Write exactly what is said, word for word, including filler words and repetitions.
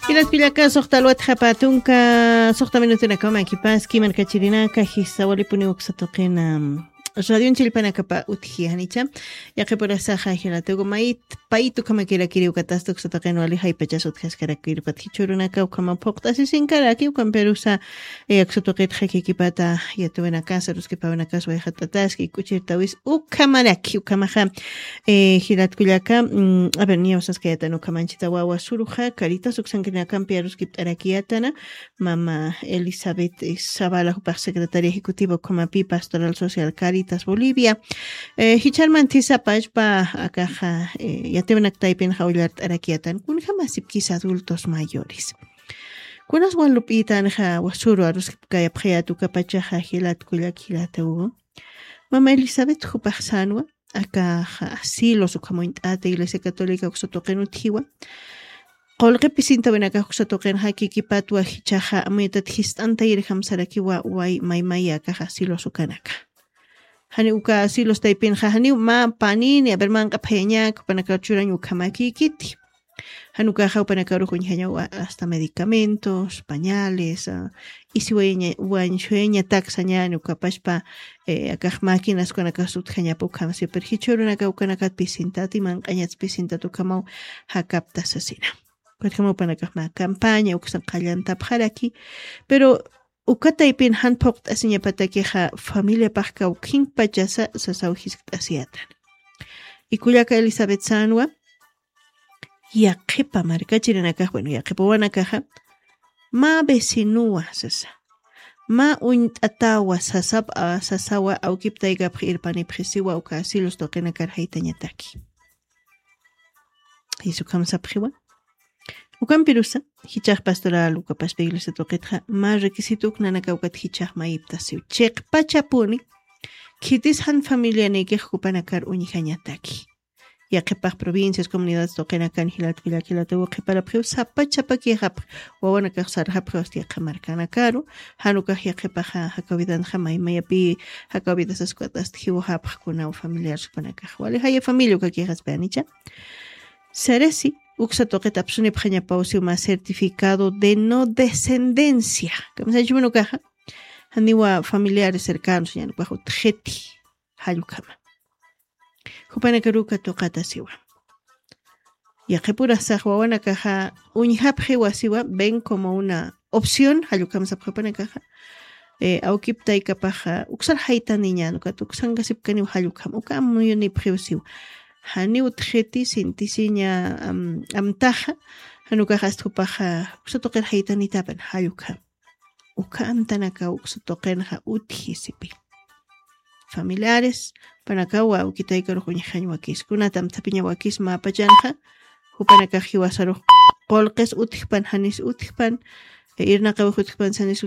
Jilat kullaka, suxta alwatxapa tunka, suxta minutunakama kipaski, markachirinaka, jisa walipuni uksa tuqina. Radion chillpanakapa utji janicha. Yaqipurasaxa jilatugu mayt paytu kamakirakiri ukatasta uksa tuqin wali jaypachas utjaskarakirpat jichhurunaka ukama phuqt'asisinkaraki ukampirusa, eh, uksa tuqitxa kikipata yatuwinakasa, ruskipawinakas wayxat'ataski, k'uchirtawis ukamaraki, ukamaxa, eh, jilat kullaka, mm, a ver, niyawasaskayatan ukamanchita wawa suruxa, Caritas uksankirinakampi aruskipt'arakiyatana, mama Elizabeth, eh, Zavala, jupax secretaria ejecutiva ukamapi Pastoral Social Caritas Bolivia. Eh, jicharman thisapachpa, akaxa, eh, yatiwinakta taypinxa ullart'arakiyatan, kunjamasipkis adultos mayores. Kunas walup'itanxa wasuru aruskipkayapxayat ukapachaxa jilat kullak jilatugu. Mama Elizabeth jupax sanwa, akaxa asilos ukhamuñt'ata Iglesia Católica uksa tuqin utjiwa. Qullqi pisintawinakax uksa tuqinxa kikipatwa jichhaxa amuytat jist'antayirjam sarakiwa way maymaya akaxa asilos ukanaka. Jani uka asilos taypinxa janiw mä panini, a ver, manq'apxayañak, jupanakar churañ ukhamakikiti. Jan ukaxa jupanakarux uñjañaw hasta medicamentos, pañales, ah, isi wayaña-, wañsuyañatak sañani ukapachpa, eh, akax máquinas ukanakas utjañapa ukham, siempre jichhurunaka ukanakat pisintati, manq'añats pisintati ukhamaw jakapta sasina. Ukatjama jupanakax mä campaña uksan qallantapxaraki, pero uka taypin jan phuqt'asiñapatakixa familiapax kawkhinpachasa sasaw jiskt'asiyatan. Y kullaka Elizabeth sanwa, yaqhipa markachirinakax, bueno, yaqhipa wawanakaxa, mä vecinowa sasa, mä uñt'atawa sasap-, a, sasawa awkiptaykapx irpanipxisiwa uka asilos tuqinakar jaytañataki. Jisu ukham sapxiwa. Ukampirusa, jichhax pastoral ukapaspa iglesia tuqitxa, mä requisito uknanaka ukat jichhax mayiptasiw. Chiqpachapuni, khitis jan familianikix jupanakar uñjañataki. Yaqhipax provincias, comunidades tuqinakan jilat kullak jilatugu qhiparapxiw sapachapakixapx, wawanakax sarxapxiw hasta yaqha markanakaru, jan ukax yaqhipaxa jakawidanxa maymayapi, jakawidas askwat hasta jiwxapx kunaw familiar jupanakax. Wali jaya familia ukakixaspa janicha. Sarasi, uksa tuqit apsunipxañapaw siw mä certificado de no descendencia. Kamsañchhuma ukaxa, janiwa familiares cercanos, ñan ukax utjiti, jall ukhama. Jupanakaruw katuqatasiwa. Yaqhipurasax wawanakaxa uñjapxiwa siwa, ven como una opción, jall ukham sapxi jupanakaxa. Eh, awkiptaykapaxa, uksar jaytaniñan, ukat uksankasipkaniw jall ukham, uka amuyunipxiw siwa. Janiw utjiti, sintisiña, am-, amtaxa, jan ukax hasta jupaxa, uksa tuqir jaytanitapan, jall ukham. Uka amtanakaw uksa tuqinxa utji sipi. Familiares, jupanakaw awkitaykarux uñjañ wakis. Kunat amthapiña wakis mäpachanxa, jupanakax jiwasarux qullqis utjpan, janis utjpan, e, irnaqawix utjpan, sanis